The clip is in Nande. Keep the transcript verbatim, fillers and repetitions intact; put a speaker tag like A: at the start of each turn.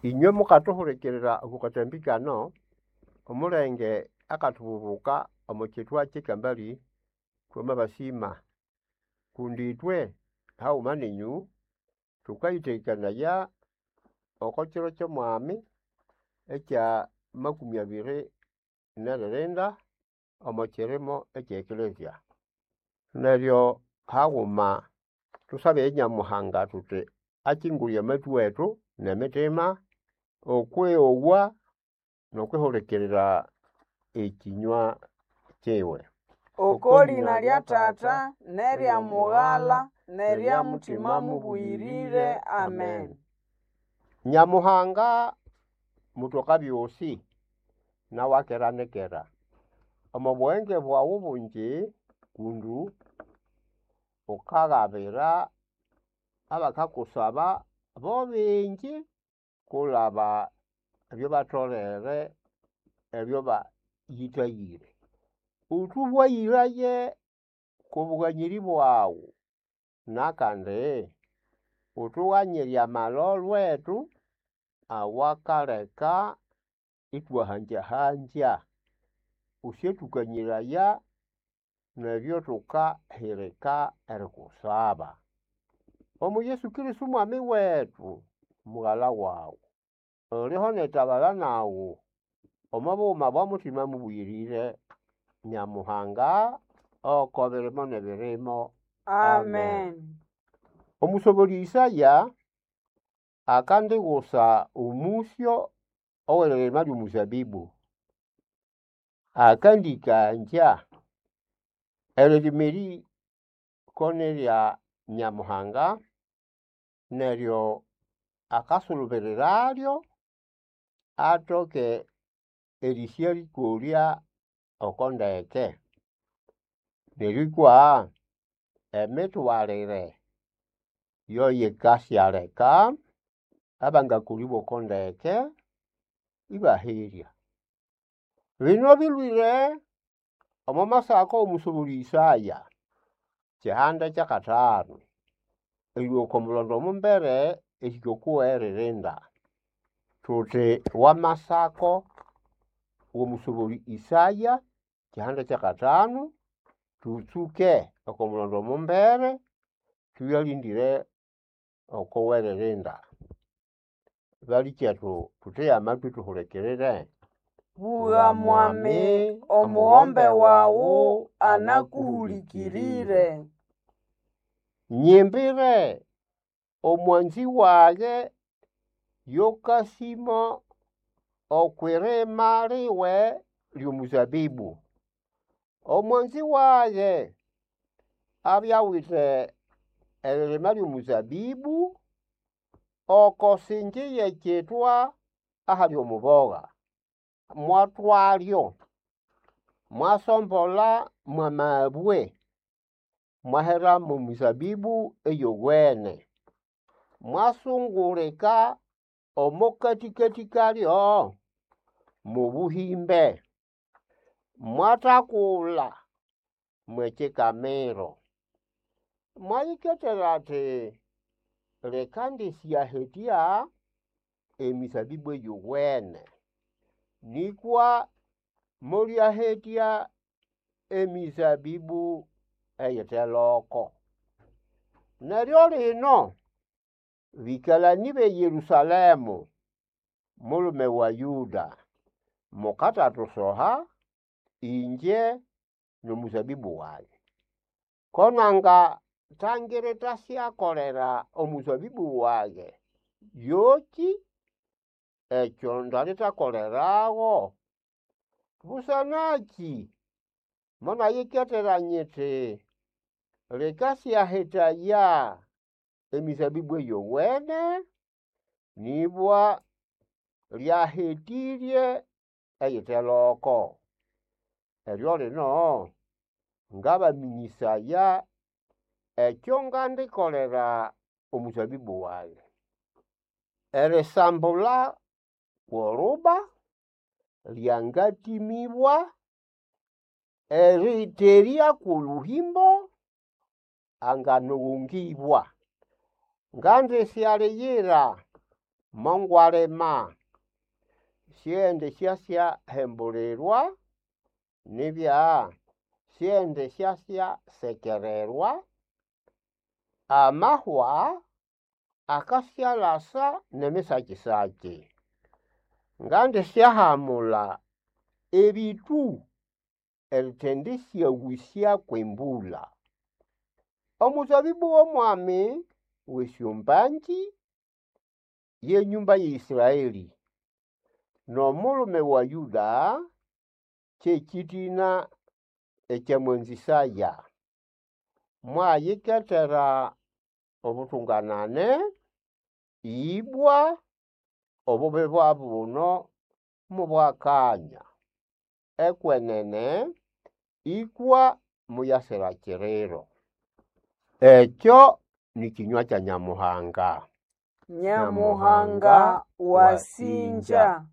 A: Inywe mukathuhulikirira oko kathambi kano, omulenge akathububuka omo kithwa kyekambali, thwamabasima kundi ithwe haghuma ninyu thukayithekakanaya oko kiro kyo mwami ekya makumi abiri neririnda omo kirimo ekye ekelezia. Neryo haghuma thusabe nyamuhanga thuthi akyingule amatwi wethu nemithima okwiowa nokwihulikirira ekinywa kiwe.
B: Oko lina lya Tata nerya Mughala nerya Mutima Mubuyirire. Amen.
A: Nyamuhanga mutoka byosi nawe akera nikera omo bughenge bwaghu bungi kundu wukagabira abakakusaba bobingi kulaba ebyabatholere ebyabayithayire. Wutubwayiraye kwo bughanyiri bwaghu nakandi wuthughanyire amalholho ethu awakaleka ithwahangyahangya. Wusyathukanyiraya nebyathukahirika erikusaba. Omo Yesu Kristo mwami wethu mughalha waghu oliho nerithabala naghu omo bughuma bwa Mutima Mubuyirire Nyamuhanga oko birimo nebirimo.
B: Amen.
A: Omusobolya Isaya akandighusa omusyo oweririma lyo muzabibu. Akandikangya eririma eri ko nirya Nyamuhanga neryo akasulubiriralyo atoke erisyalikolya oko ndeke. Neryo ikwa emithwalire yoyikasyaleka abangakolibwa oko ndeke ibaherya. Bino bilwire omo masako omusobolya Isaya kihanda kyakathanu erilhwa oko mulhondo omumbere erihika okoweririnda. Thuthi wamasako womusobolya Isaya kihanda kyakathanu thutsuke oko mulhondo omumbere thuyalindire oko weririnda. Balikyethu thuthege amathwi thuhulikirire.
B: Bugha mwami, omughombe waghu anakuhulikirire.
A: Nyimbire omwanzi wage yokasĩmo okwirima liwe ly'omuzabibu. Omwanzi wage abya awithe eririma ly'omuzabibu oko singi y'ekithwa ahali omubogha. Mwathwalyo, mwasombolha mwamabwe, mwahera mw'emizabibu eyowene, mwasungulika omo katikati kalyo mw'obuhimbe, mwathakulha mw'ekikamiro. Mwayiketera athi leka indisyahetya emizabibu eyowene nĩkwa mulyahetya emizabibu eyite loko. Neryo lino bĩkalani b'e Yerusalemu mulume wa Yuda, mukathathusoha ingye n'omuzabibu wage. Ko nangathangira ithasyakolera omuzabibu wage yoki ekyo ndalithakoleragho? Busanaki monayiketera nyithi likasyahethaya emizabibu eyowene nibwa lyahetĩrye eyite loko. Eryo lino ngabamĩnyĩsaya ekyo ngandikolera omuzabibu wage. Erisambula kw'oruba lyangatĩmĩbwa, erĩterya kw'olhuhimbo anganoghongĩbwa. Ngandisyaliyira Mongwalima syendi syasyahembulirwa nibya syendi syasyasekererwa. Amahwa akasyalasa n'emisakisaki. Ngandisyahamulha ebĩtũ erithendisyaghusya kw'embulha. Omuzabibu w'omwami w'esyombangĩ y'enyũmba ya Israeli, n'omulume wa Yuda ky'ekĩtĩna ekyamwanzĩsaya. Mwayiketera obutunganane, ibwa obubi bwa buno mubwakanya. Ekwenene ikwa muyasira kiriro. Ekyo ni kĩnywa kya Nyamuhanga.
B: Nyamuhanga wasinja.